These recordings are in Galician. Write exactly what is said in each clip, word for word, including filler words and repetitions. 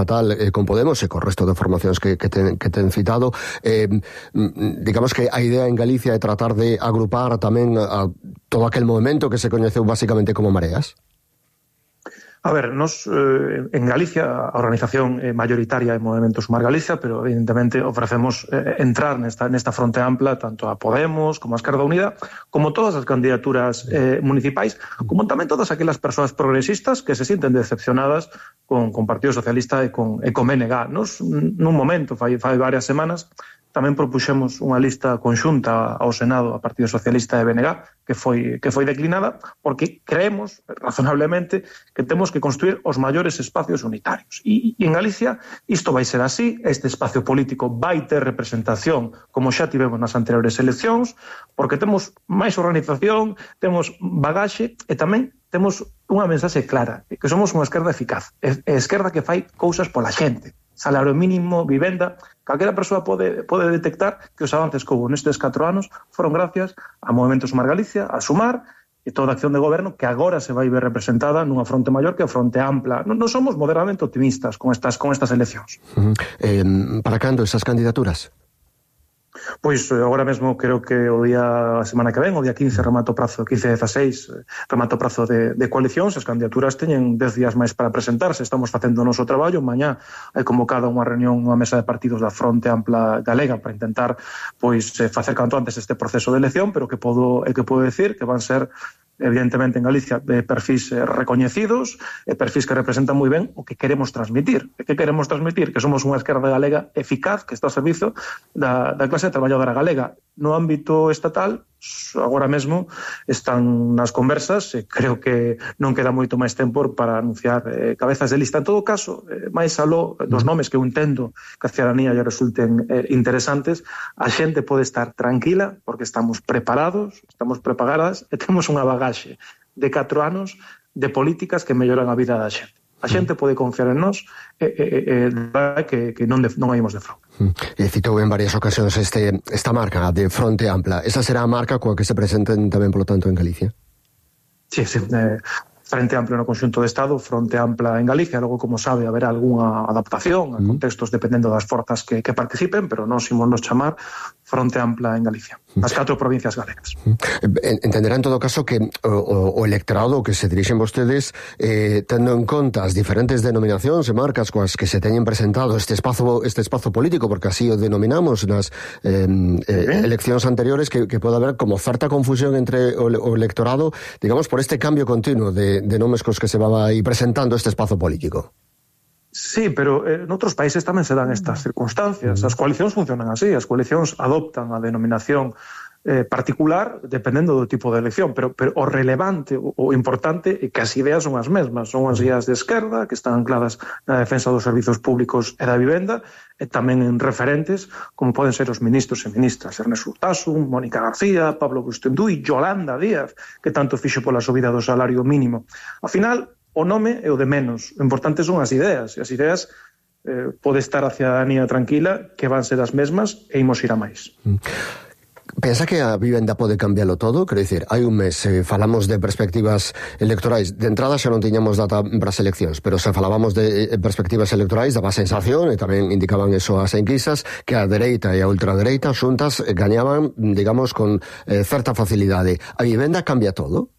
tal, eh, con Podemos e co resto de formacións que, que, ten, que ten citado, eh, digamos que a idea en Galicia é tratar de agrupar tamén a todo aquel movimento que se coñeceu basicamente como Mareas? A ver, nos eh, en Galicia a organización eh, mayoritaria é Movemento Sumar Galicia, pero evidentemente ofrecemos eh, entrar nesta, nesta fronte ampla tanto a Podemos como a Esquerda Unida, como todas as candidaturas eh, municipais, como tamén todas aquelas persoas progresistas que se sienten decepcionadas con, con Partido Socialista e con, e con B N G. Nos, nun momento, fai, fai varias semanas, tamén propuxemos unha lista conxunta ao Senado a Partido Socialista e B N G que foi, que foi declinada porque creemos razonablemente que temos que construir os maiores espacios unitarios. E, e en Galicia isto vai ser así, este espacio político vai ter representación como xa tivemos nas anteriores eleccións, porque temos máis organización, temos bagaxe e tamén temos unha mensaxe clara, que somos unha esquerda eficaz, e esquerda que fai cousas pola xente. Salario mínimo, vivenda, calquera persoa pode, pode detectar que os avances que houve nestes catro anos foron gracias a Movemento Sumar Galicia, a Sumar, e toda a acción de goberno que agora se vai ver representada nunha fronte maior que a fronte ampla. Non, non somos moderadamente optimistas con estas, con estas eleccións. Uh-huh. eh, para cando esas candidaturas? Pois agora mesmo creo que o día a semana que ven, o día quince remato prazo, quince dezaseis remato prazo de, de coalicións. As candidaturas teñen dez días máis para presentarse. Estamos facendo o noso traballo. Mañá hai convocada unha reunión, unha mesa de partidos da Fronte Ampla Galega para intentar pois facer canto antes este proceso de elección, pero que podo, é que podo decir que van ser evidentemente en Galicia de perfis eh, recoñecidos, e perfis que representan moi ben o que queremos transmitir. E que queremos transmitir? Que somos unha esquerda galega eficaz que está ao servizo da, da clase traballadora galega. No ámbito estatal, agora mesmo están nas conversas e creo que non queda moito máis tempo para anunciar eh, cabezas de lista. En todo caso, eh, máis aló dos nomes que eu entendo que a ciudadanía lle resulten eh, interesantes, a xente pode estar tranquila porque estamos preparados, estamos preparadas e temos unha bagaxe de catro anos de políticas que melloran a vida da xente. A xente pode confiar en nós e, e, e que, que non, de, non haímos de fraude. E citou en varias ocasións este, esta marca de Fronte Ampla. Esa será a marca coa que se presenten tamén, polo tanto, en Galicia? Sí, sí. Eh, Frente Amplio no conxunto de Estado, Fronte Ampla en Galicia. Logo, como sabe, haberá algunha adaptación a contextos dependendo das forzas que, que participen, pero nós imos nos chamar Fronte Ampla en Galicia, as catro provincias galegas. Entenderá en todo caso que o, o electorado que se dirixen vostedes, eh, tendo en conta as diferentes denominacións e marcas coas que se teñen presentado este espazo, este espazo político, porque así o denominamos nas eh, eh, eleccións anteriores, que, que pode haber como certa confusión entre o, o electorado, digamos, por este cambio continuo de, de nomes cos que se va aí presentando este espazo político. Sí, pero eh, noutros países tamén se dan estas circunstancias. As coalicións funcionan así, as coalicións adoptan a denominación eh, particular dependendo do tipo de elección, pero, pero o relevante, o, o importante é que as ideas son as mesmas, son as ideas de esquerda que están ancladas na defensa dos servizos públicos e da vivenda, e tamén en referentes como poden ser os ministros e ministras Ernesto Urtasun, Mónica García, Pablo Bustendui, Yolanda Díaz, que tanto fixo pola subida do salario mínimo. Ao final, o nome é o de menos, o importante son as ideas, e as ideas eh, pode estar a ciudadanía tranquila que van ser as mesmas e imos ir a máis. Pensa que a vivenda pode cambiálo todo? Quero dicir, hai un mes eh, falamos de perspectivas electorais. De entrada xa non tiñamos data para as eleccións, pero se falábamos de eh, perspectivas electorais daba a sensación, e tamén indicaban eso as enquisas, que a dereita e a ultradereita xuntas eh, gañaban, digamos, con eh, certa facilidade. A vivenda cambia todo?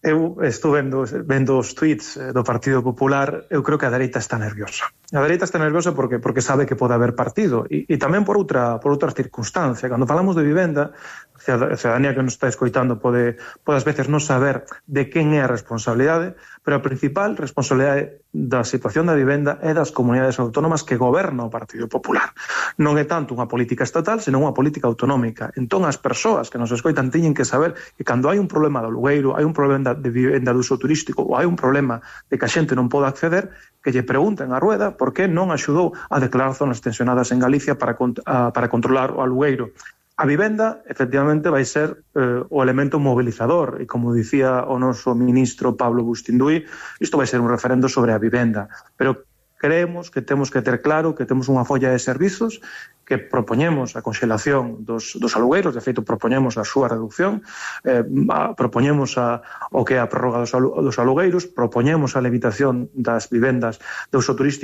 Eu estou vendo, vendo os tweets do Partido Popular. Eu creo que a dereita está nerviosa. A dereita está nerviosa porque porque sabe que pode haber partido e, e tamén por outra por outra circunstancia. Cando falamos de vivenda, a ciudadanía que nos está escoitando pode, pode ás veces non saber de quen é a responsabilidade, pero a principal responsabilidade da situación da vivenda é das comunidades autónomas que goberna o Partido Popular. Non é tanto unha política estatal, senón unha política autonómica. Entón, as persoas que nos escoitan teñen que saber que cando hai un problema do alugueiro, hai un problema de vivenda de uso turístico ou hai un problema de que a xente non pode acceder, que lle pregunten a Rueda por que non axudou a declarar zonas tensionadas en Galicia para, para controlar o alugueiro. A vivenda, efectivamente, vai ser eh, o elemento mobilizador e, como dicía o noso ministro Pablo Bustindui, isto vai ser un referendo sobre a vivenda. Pero creemos que temos que ter claro que temos unha folla de servizos que propoñemos a conxelación dos, dos alugueiros, de feito propoñemos a súa reducción, eh, a, propoñemos a, o que é a prórroga dos, alu, dos alugueiros, propoñemos a levitación das vivendas de uso turístico